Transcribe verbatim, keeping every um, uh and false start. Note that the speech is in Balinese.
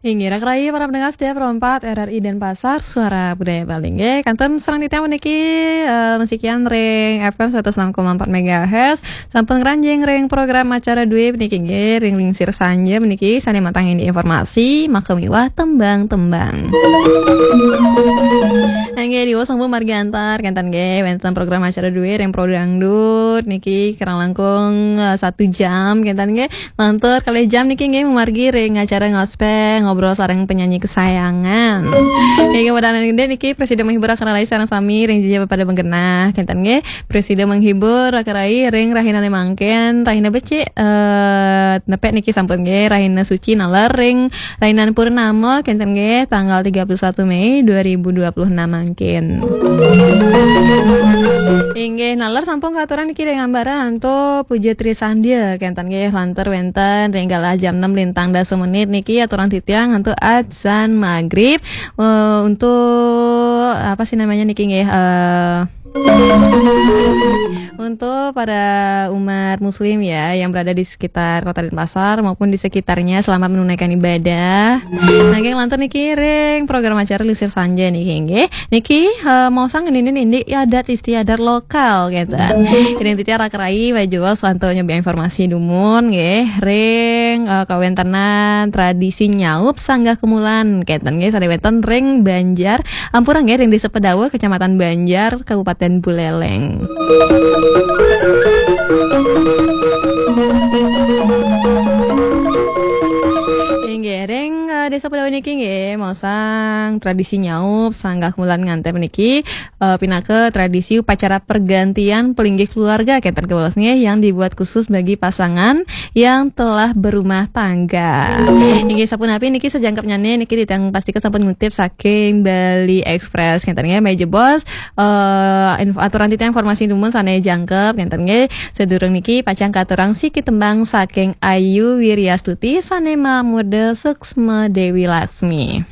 Inggih, raka rayi para pendengar setia Pro empat R R I Denpasar, Suara Budaya Bali. Inggih, kantun sareng titiang puniki, eh, masikian ring F M seratus enam koma empat megahertz. Sampun ngranjing ring program acara dué puniki, inggih, ring lingsir sanja puniki sané matang indik informasi, maka miwah tembang-tembang. Inggih, diwasa sampun margi antar, kénten nggih, wénten program acara dué ring Pro Dangdut niki kirang langkung, eh, satu jam, kénten nggih. Lantur kalih jam niki nggih mamargi ring acara ngospel, ngobrol sareng penyanyi kesayangan. Inggih, wadanan gedé niki prasida menghibur raka rayi sareng sami ring jejeh pada menggenah, kénten nggih. Prasida menghibur raka rayi ring rahinané mangkin, rahina becik, eh, nepek niki sampun nggih, rahina suci naler ring rahinan purnama, kénten nggih, tanggal tiga puluh satu Mei dua ribu dua puluh enam mangkin. Inggih, naler sampun katurang niki ring ambara antuk puja trisandya, kénten nggih, lantur wénten ring galah jam enam lintang dasa menit niki aturang titiang antuk adzan magrib, eh, untuk apa sih namanya niki nggih, eh, untuk para umat muslim ya yang berada di sekitar Kota Denpasar maupun di sekitarnya, selamat menunaikan ibadah. Nanging lantur niki ring program acara Lisir Sanja niki nggih. Niki, eh, maosang ngenénin indik adat istiadat lokal gitu. Ring titiang raka rayi wajah santo nyoba informasi dumun nggih ring, eh, kawéntenan tradisi nyaup sanggah kemulan kénten nggih sané wénten ring Banjar, ampura nggih, ring Désa Pedawa, Kecamatan Banjar, Kabupaten Buleleng. Inggih, ring, eh, Désa Pedawa niki nggih maosang tradisi nyaup sanggah kemulan ngantén niki, eh, pinaka tradisi upacara pergantian pelinggih keluarga kénten kabaos nggih yang dibuat khusus bagi pasangan yang telah berumah tangga. Inggih sapunapi niki sajangkepnyané niki titiang pastika sampun ngutip saking Bali Express kénten nggih, malih jebos, eh, inf-, aturan titiang informasi dumun sané jangkep kénten nggih. Sadurung niki pacang katurang siki tembang saking Ayu Wiryastuti sané mamurda Suksma Dewi Laksmi.